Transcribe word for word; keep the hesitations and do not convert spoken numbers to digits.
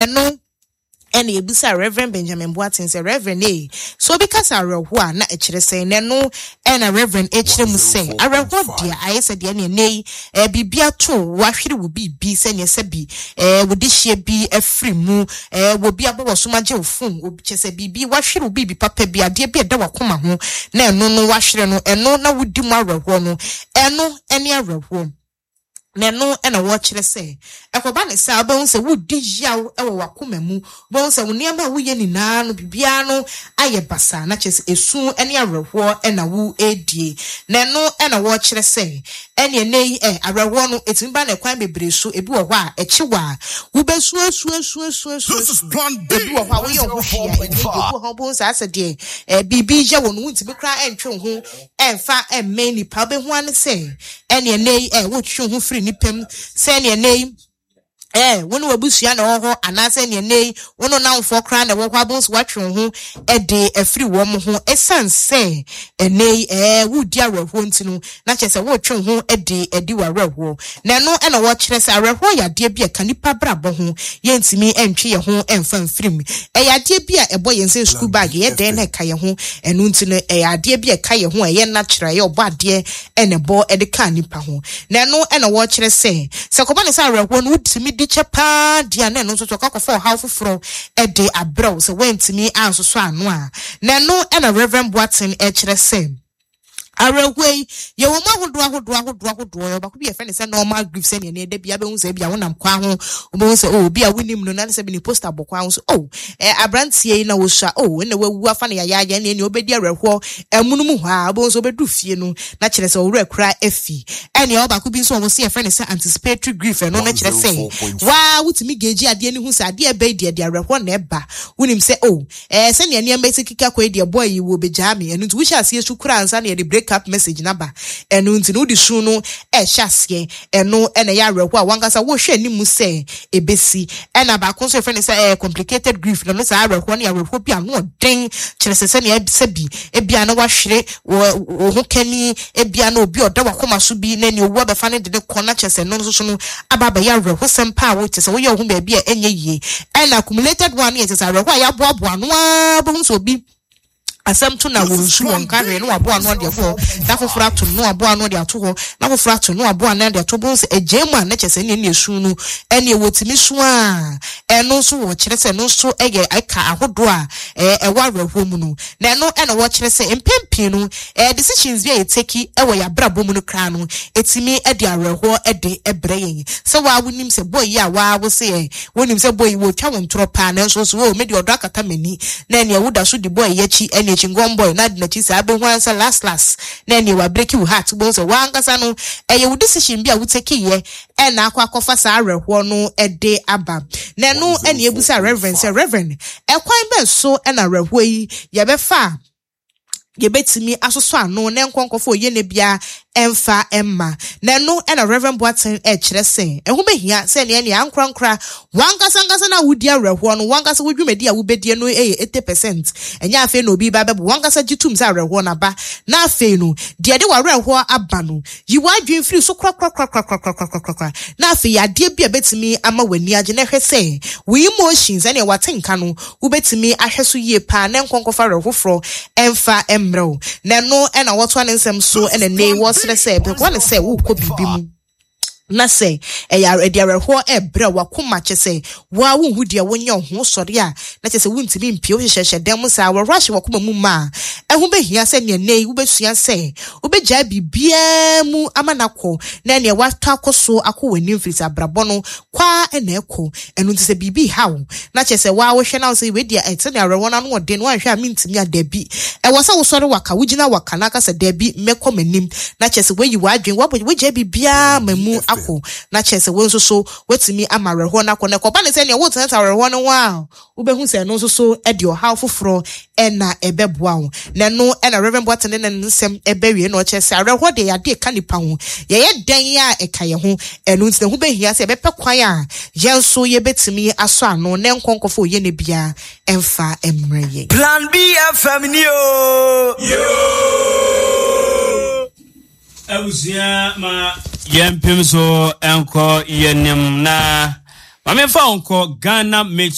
Ɛno ɛna ebisa Reverend Benjamin Boateng sɛ, "Reverend, ee, so obi kasa awerɛhoɔ a, na ɛkyerɛ sɛ?" N'ɛno ɛna Reverend ɛkyerɛ mu sɛ awerɛhoɔ deɛ, ayɛ sɛ deɛ ne ɛnɛ yi ɛɛ biribi ato, wahwere wo biribi, sɛnea sɛ bi ɛɛ wode hyia bi afiri mu, ɛɛ wɔ bi abɔ wɔ so agye wo phone, obi kyɛ sɛ biribi wahwere wo, biribi papa bi, adeɛ bi ɛda wakoma ho na ɛno no wahwere no, ɛno na wodi mu awerɛhoɔ no. Ɛno ɛne awerɛhoɔ. Na ɛno ɛna wɔrekyerɛ sɛ ɛkɔba ne saa, wobɛhu sɛ wodi yaw ɛwɔ wakoma mu, wobɛhu sɛ wo nneɛma a woyɛ nyinaa no, biribiara no ayɛ basaa, na kyerɛ sɛ esu ne awerɛhoɔ ɛna wo edie. Na ɛno ɛna wɔrekyerɛ sɛ ɛne ɛnɛ yi ɛ awerɛhoɔ no etumi ba na ɛkwan bebree so. Ebi wɔ hɔ a ɛkyi wɔ a wobɛsu esu esu esu esu. This is Esu Plan B. Ebi wɔ hɔ a woyɛ ɔho hwee a ɛnyɛ yie. Ebi wɔ hɔ a wobɛhu saa sɛ deɛ ɛɛ biribi yɛ wɔ no, wontumi koraa ɛntwe wo ho ɛmfa ɛmmɛn nipa. Wobɛhu ano sɛ ɛne ɛnɛ yi ɛ wotwe wo ho firi nipa mu, sɛ ɛne ɛnɛ yi ɛɛ wo ne w'abusua na ɛwɔ hɔ, anaasɛ nea ɛnɛ yi wo ne namfoɔ koraa na ɛwɔ hɔ, abɔn so watwe wo ho ɛde afiri wɔn ho, ɛsiane sɛ ɛnɛ yi ɛɛ wodi awerɛhoɔ nti no, na kyerɛ sɛ wotwe wo ho ɛde ɛdi w'awerɛhoɔ. Na ɛno ɛna wɔkyerɛ sɛ awerɛhoɔ yɛ adeɛ bi a ɛka nipa brabɔ ho, yɛntumi ɛntwe yɛn ho ɛmfa mfiri mu. Ɛyɛ adeɛ bi a ɛbɔ yɛn sɛ school bag, yɛ dɛn na ɛka yɛn ho. Ɛno nti no, ɛyɛ adeɛ bi a ɛka yɛn ho a ɛyɛ natural, ɛyɛ ɔbɔ adeɛ ɛna ɛbɔ ɛde ka nipa ho. Na ɛno ɛna wɔkyerɛ sɛ sɛ kɔba ne sɛ awerɛhoɔ no wotumi di kyɛ paa deɛ a, na ɛno nso so ɔkɔ akɔfa ɔhaw foforɔ ɛde abrɛw sɛ wɔntumi ansosɔ ano a. Na ɛno ɛna Reverend Boateng ɛkyerɛ sɛ awerɛhoɔ yi, yɛwɔ mu ahodoɔ ahodoɔ ahodoɔ ahodoɔ. Yɛwɔ baako bi yɛfrɛ no sɛ normal grief, sɛnea ne ɛda bi abɛhu sɛ ebi a wonam kwan ho, wobɛhu sɛ, oh, obi a wonim no na ne sɛ bi ne poster bɔ kwan ho so, oh, ɛ aberanteɛ yi na wosua, oh, ɛna wawu afa no yayaaya, ɛne ɛne wobɛdi awerɛhoɔ ɛmono mu hɔ a, wobɛhu sɛ wobɛdu fie no na kyerɛ sɛ ɔwerɛ kora afi. Ɛne ɛwɔ baako bi nso a wɔsi yɛfrɛ no sɛ anticipatory grief. Ɛno no kyerɛ sɛ waa wotumi gauge adeɛ no hu sɛ adeɛ ɛbɛyi deɛ de awerɛhoɔ na ɛba. Wonim sɛ, oh, ɛɛ sɛnea nneɛma esi keka kɔ yi deɛ, boy yi wɔ bɛgyaa me. Ɛno nti wohyɛ aseɛ su kora ansa na yɛde break up message naba. Ɛno nti no, wode su no ɛhyɛ aseɛ. Ɛno ɛna ɛyɛ awerɛhoɔ a wankasa wohwɛ anim sɛ ebesi. Ɛna baako nso yɛfrɛ no sɛ ɛyɛ complicated grief. Na no saa awerɛhoɔ no yɛ awerɛhoɔ bi a ano ɔden, kyerɛ sɛ sɛnea sɛ bi ebia na wahwere wɔ wo ho kani, ebia na obi a ɔda wakoma so bi na nea owu abɛfa no de ne kɔ, na kyerɛ sɛ ɛno nso so no aba abɛyɛ awerɛhosɛm paa a wokyerɛ sɛ woyɛ wo ho baabi a ɛnyɛ yie. Ɛna accumulated one no yɛ kyerɛ sɛ awerɛhoɔ a yɛaboaboa ano ara, wobɛhu sɛ obi asɛm to na wɔn nsu wɔn nka hwee na waboa ano de ato hɔ, na foforɔ ato no, na waboa ano de ato hɔ, na foforɔ ato no, na waboa ano de ato hɔ. Sɛ egya mu a, na kyerɛ sɛ ɛne ɛne esu no ɛne wɔtumi su a, ɛno nso wɔkyerɛ sɛ ɛno nso ɛyɛ ɛka ahodoɔ a ɛɛ ɛwɔ awerɛhoɔ mu no. Na ɛno ɛna wɔkyerɛ sɛ mpɛn pii no, ɛɛ decisions bi a yɛtake ɛwɔ yɛ abrabɔ mu no koraa no, etumi ɛde awerɛhoɔ ɛde ɛbrɛ yɛn, sɛ waa wonim sɛ boy yi a waa wo se ɛ wonim sɛ boy yi wɔtwa wɔn ntorɔ paa, nanso so o, me deɛ ɔdɔ akata m'ani, na ɛnea woda so di boy yi akyi, ɛne akyi ngɔn boy na adi n'akyi saa, abɛhu ansa last last na ɛnea wabreak wo heart. Wobɛhu sɛ wankasa no, ɛyɛ wo decision bi a wotake yɛ ɛna akɔ akɔfa saa awerɛhoɔ no ɛde aba. Na ɛno ɛna ebusa Reverend sɛ, "Reverend, ɛkwan bɛn so ɛna awerɛhoɔ yi yɛbɛfa a yɛbɛtumi asosɔ ano na nkɔnkɔfo oyɛ ne bia ɛmfa ɛmma?" Na ɛno ɛna Reverend Boateng ɛkyerɛ sɛ ɛho bɛhia sɛ nea nea ankorankora wankasa nkasa na wodi awerɛhoɔ no, wankasa wo dwumadi a wobɛdie no ɛyɛ eighty percent. Ɛnyɛ afei na obi ba bɛbɔ. Wankasa gye tum sɛ awerɛhoɔ no aba, na afei no deɛ de w'awerɛhoɔ aba no, yi w'adwene firi so korakorakorakorakorakorakora, na afei adeɛ bi a bɛtumi ama w'ani agye, na ɛhwɛ sɛ wo emotions ɛne wate nka no, wobɛtumi ahwɛ so yie paa na nkɔnkɔfa awerɛhoforɔ ɛmfa mmerɛ wo. Na ɛno ɛna wɔtoa ne nsɛm so, ɛna nne wɔsrɛ sɛ pɛkoa ne sɛ wokɔ biribi mu na sɛ ɛyɛ ɛde awerɛhoɔ ɛbrɛ wakoma, kyɛ sɛ woa wonhu deɛ wonyɛ wo ho sɔre a, na kyɛ sɛ wontumi mpie, wohyehyɛhyɛ dan mu saa awerɛhoɔ ahyɛ wakoma mu ma a, ɛho bɛhia sɛ nea nnɛ yi wobɛsua sɛ wobɛgyae biribiara mu ama no akɔ, na nea watɔ akɔ so akɔ w'anim, firi sɛ abrabɔ no kwaa ɛna ɛkɔ. Ɛno nti sɛ biribi ha wo na kyerɛ sɛ waa wohwɛ na wo sɛ wei deɛ, ɛte ne awerɛhoɔ no ano ɔden no, woanhwɛ a mentumi a, dabi, ɛwɔ sɛ wosɔre waka, wogyina waka na aka sɛ dabi, mɛkɔ m'anim, na kyerɛ sɛ woayi w'adwene, woabɔ wogyae biribiara ma mu akɔ, na kyerɛ sɛ wo nso so woatumi ama awerɛhoɔ no akɔ. Na ɛkɔba ne sɛ nea wotenatena awerɛhoɔ no ho a, wobɛhu sɛ ɛno nso so de ɔhaw foforɔ ɛna ɛbɛboa wo. Na ɛno ɛna Reverend Boateng ne ne nsɛm ɛbɛwie na ɔkyerɛ sɛ awerɛhoɔ deɛ, yɛade ka nipa ho, yɛyɛ dɛn a ɛka yɛn ho. Ɛno nti na ho bɛhia sɛ yɛbɛpɛ kwan a yɛn nso yɛbɛtumi asɔ ano na nkɔnkɔfo oyɛ ne biara ɛmfa mmerɛ yɛn. Plan B F M ni o. Abusua, ma yɛmpem so nkɔ yɛnim na Maame fa nkɔ Ghana Made